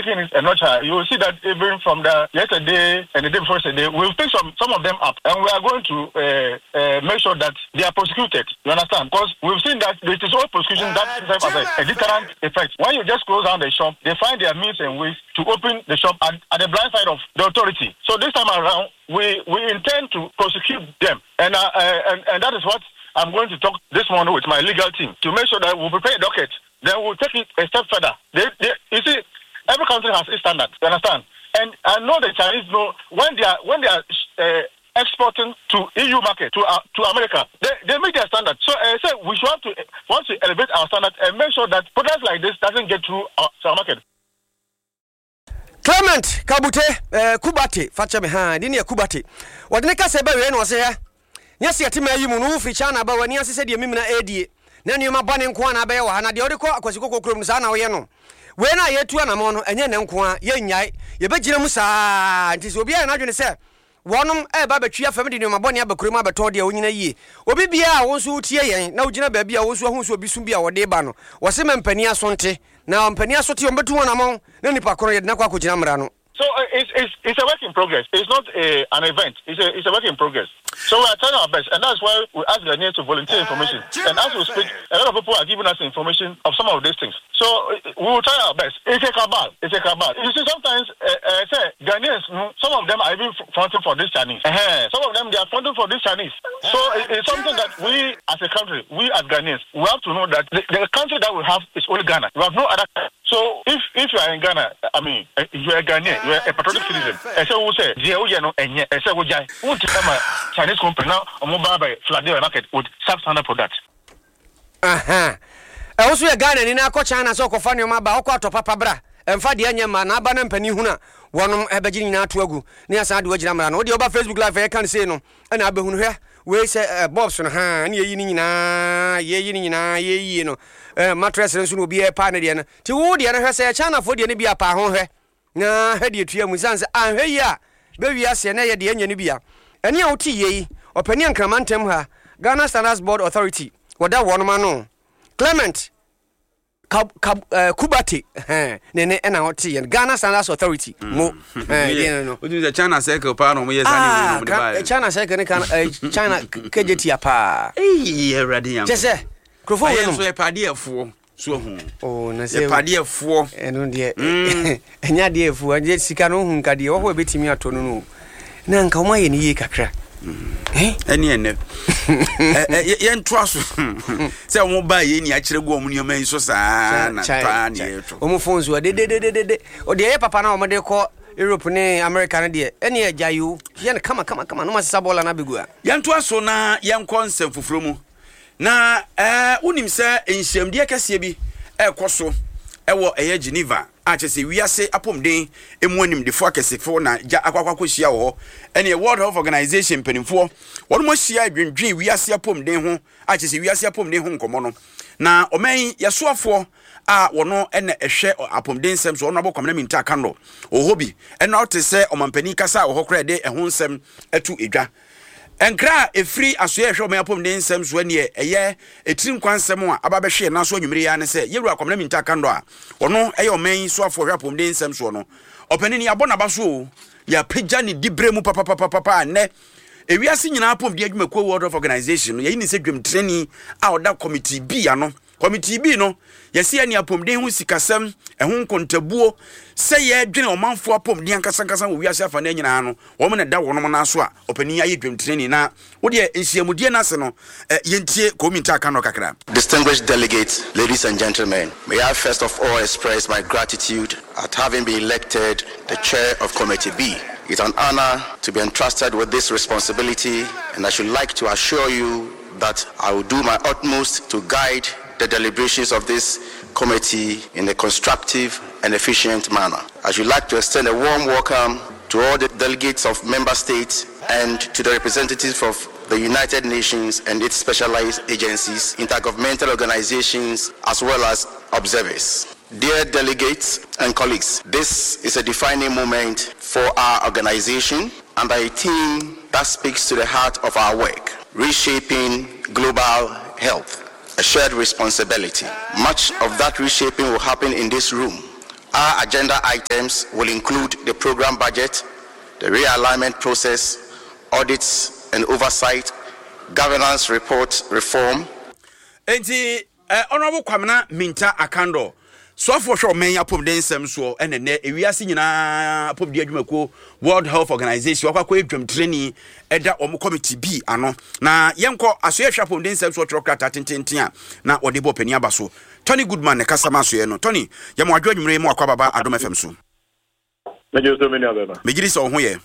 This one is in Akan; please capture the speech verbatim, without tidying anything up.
taking it a notch higher. You will see that even from the yesterday and the day before yesterday, we've picked some, some of them up, and we are going to uh, uh, make sure that they are prosecuted. You understand? Because we've seen that it is all prosecution that serves as a, a deterrent effect. When you just close down the shop, they find their means and ways to open the shop at, at the blind side of the authority. So this time around, we, we intend to prosecute them. And, uh, uh, and, and that is what I'm going to talk this morning with my legal team to make sure that we'll prepare a docket. Then we'll take it a step further. They, they, you see, every country has its standards. You understand? And I know the Chinese know when they are when they are uh, exporting to E U market, to uh, to America, they, they meet their standard. So I uh, say we should have to want to elevate our standard and make sure that products like this doesn't get through our, our market. Clement Kabute, eh, Kubate, fakyɛ me ha de ne yɛ Kubate. Wɔde ne kasa bɛwie na ɔsɛ yɛ nyɛ sɛ yɛte ma yi mu no wofiri China ba w'ani ase sɛdeɛ memina ɛdie na nneɛma bɔne nko a na abɛyɛ wɔ ha na deɛ wode kɔ Akwasi Kɔkɔ kurom no saa na woyɛ no. Wei no a yɛtu anammɔ no, ɛnyɛ ne nko a yɛnnyae, yɛbɛgyina mu saa. Nti sɛ obiara yɛ n'adwene sɛ wɔnom ɛba bɛtwi afam de nneɛma bɔne aba kurom abɛtɔn deɛ, wonyina yie. Obi biara a wo nso wotie yɛn na wogyina baabi a wo nso ahu sɛ obi so bi a wɔde ba no, wɔse ma mpani aso nte na mpani aso te, ɔmbɛtu wɔn amɔn na nipa korɔ yɛde nakɔ akɔgyina mmara no. So uh, it's, it's, it's a work in progress. It's not a, an event. It's a, it's a work in progress. So we are trying our best, and that's why we ask Ghanaians to volunteer information. And as we speak, a lot of people are giving us information of some of these things. So uh, we will try our best. It's a cabal. It's a cabal. You see, sometimes uh, uh, say Ghanaians, mm, some of them are even fronting for this Chinese. Uh-huh. Some of them, they are fronting for this Chinese. So it, it's something that we as a country, we as Ghanaians, we have to know that the, the country that we have is only Ghana. We have no other. So if if you are in Ghana, I mean, uh, you are a Ghanaian, you are a patriotic citizen. Ɛsɛ wo sɛ deɛ woyɛ no ɛnyɛ, ɛsɛ wogyae. Wonti ama Chinese company na ɔmo ba bɛ flood the market with substandard product. Aha, ɛwo so yɛ Ghana ni na akɔ China sɛ ɔkɔfa nneɛma ba, ɔkɔ atɔ papa bra, ɛmfa deɛ nyɛ ma na aba na mpanin hunu a wɔnom ɛbɛgye ne nyinaa ato agu ne asan de wagyina mmara no. Wodeɛ woba Facebook Live, ɛyɛ ka no sei no ɛna abɛhunu. Hwɛ wei sɛ ɛ bulbs no ha ne yɛyi ne nyinaa, yɛyi ne nyinaa, yɛyie no ɛ mattress no nso na obi ɛpa ne deɛ no. Nti wo deɛ no, hwɛ sɛ Chinafoɔ deɛ no bi apa ho, hwɛ na hwɛ deɛ tua mu sane sɛ anhwɛ yi a bɛwie aseɛ na ɛyɛ deɛ ɛnyɛ no bi a ɛne a wote yie yi. Ɔpani Ankrama ntɛm ha, Ghana Standards Board Authority, wɔda wɔnom ano, Clement Kab, Kab, uh, Kubate ɛhɛn, ne ne ɛna ɔte yɛn Ghana Standards Authority mo ɛn deɛ no. Wotumi sɛ China circle paa na ɔmo yɛ saa ne Ah, wei na ɔmo de ka- baeɛ. China circle ne kan eh, China kegye tia paa. Eyi, Awurade Nyankopɔn. Kyɛ sɛ nkurɔfoɔ wei Ayɛ nom nso yɛpɛ adeɛfoɔ so ahu. Oh, na sɛ yɛpɛ adeɛfoɔ. Ɛno deɛ ɛnyɛ adeɛ afu ɛnyɛ sika no wohu nka deɛ wɔhɔ ɛbɛtumi atɔ no no na nka wɔn ayɛ no yie kakra. Eh? Ɛne ɛnɛ Ɛ- ɛ, yɛ- yɛntoa so sɛ ɔmo baa yɛ ni akyerɛ gu ɔmo nneɛma yi so saa na paa ne yɛtɔ. Wɔn phone so dedededede ɔdeɛ ɛyɛ papa na wɔn de kɔ Europe ne America no deɛ, ɛne ɛgya yi o, yɛ no kama kama kama na wɔn asesa bɔɔla no abɛgu a. Yɛntoa so na yɛnkɔ nsɛm foforɔ mu na ɛɛ wonim sɛ nhyiamdeɛ kɛseɛ bi ɛrekɔ so ɛwɔ ɛyɛ Geneva a kyerɛ sɛ wiase apɔmuden emu animdefoɔ akɛsefoɔ na gya akɔ akɔ akɔhyia wɔ hɔ. Ɛne World Health Organization mpanimfoɔ wɔn mo ahyia adwendwen wiase apɔmuden ho a kyerɛ sɛ wiase apɔmuden ho nkɔmmɔ no. Na ɔman yi yɛsoafoɔ a wɔno ɛna ɛhwɛ apɔmuden nsɛm so, ɔno abɔ Kwamina Minta Akando wɔ hɔ bi. Ɛna ɔte sɛ ɔmampanin kasa a wɔ hɔ koraa de ɛho nsɛm ɛto edwa. Nkra a ɛfiri asoɛ ɛhwɛ ɔman apɔmuden nsɛm so ɛneɛ ɛyɛ ɛtiri nkwa nsɛm a aba bɛhwe yɛn nan so anwummere yi ara ne sɛ yɛwura Kwamina Minta Akando a ɔno ɛyɛ ɔman yi soafoɔ hwɛ apɔmuden nsɛm soɔ no, ɔpanin yɛabɔ n'aba so o, yɛapagya ne diberɛ mu papapapapa. Nnɛ ewiase nyinaa apɔmuden adwumakuo World Health Organization no yɛyi ne sɛ dwamtirani a ɔda Committee B ano. Committee B no yɛsi ɛne apɔmuden ho sikasɛm ɛho nkontabuo sɛ yɛdwene ɔmanfoɔ apɔmuden ankasankasa wɔ wiase afa no nyinaa no, wɔn na da wɔn nan so a ɔpanin ayɛ dwamtirani. Na wodeɛ nhyiamudie no ase no ɛ yɛntie Kɔminta aka no kakra. Distinguished delegates, ladies and gentlemen, may I first of all express my gratitude at having been elected the chair of Committee B. It's an honor to be entrusted with this responsibility, and I should like to assure you that I will do my utmost to guide the deliberations of this committee in a constructive and efficient manner. I should like to extend a warm welcome to all the delegates of member states and to the representatives of the United Nations and its specialized agencies, intergovernmental organizations, as well as observers. Dear delegates and colleagues, this is a defining moment for our organization and a theme that speaks to the heart of our work, reshaping global health, a shared responsibility. Much of that reshaping will happen in this room Our agenda items will include the program budget, the realignment process, audits and oversight, governance report reform. Enti eh, Honorable Kwamina Minta Akando, soafoɔ hwɛ ɔman yi apɔmuden nsɛm soɔ, ɛna nnɛ ewiase nyinaa apɔmuden adwumakuo, World Health Organization, wakɔ akɔyɛ dwamtirani ɛda wɔn committee bi ano. Na yɛnkɔ asoɛ hwɛ apɔmuden nsɛm soɔ twerɛ krataa tententen a na wɔde bɔ panin aba so. Tony Goodman ne kasa ma asoɛ no. Tony, yɛma wadwo anwummerɛ mu, akɔ ababa Adom F M so. Megye so, me nua bɛma. Megye di sɛ wo ho yɛ.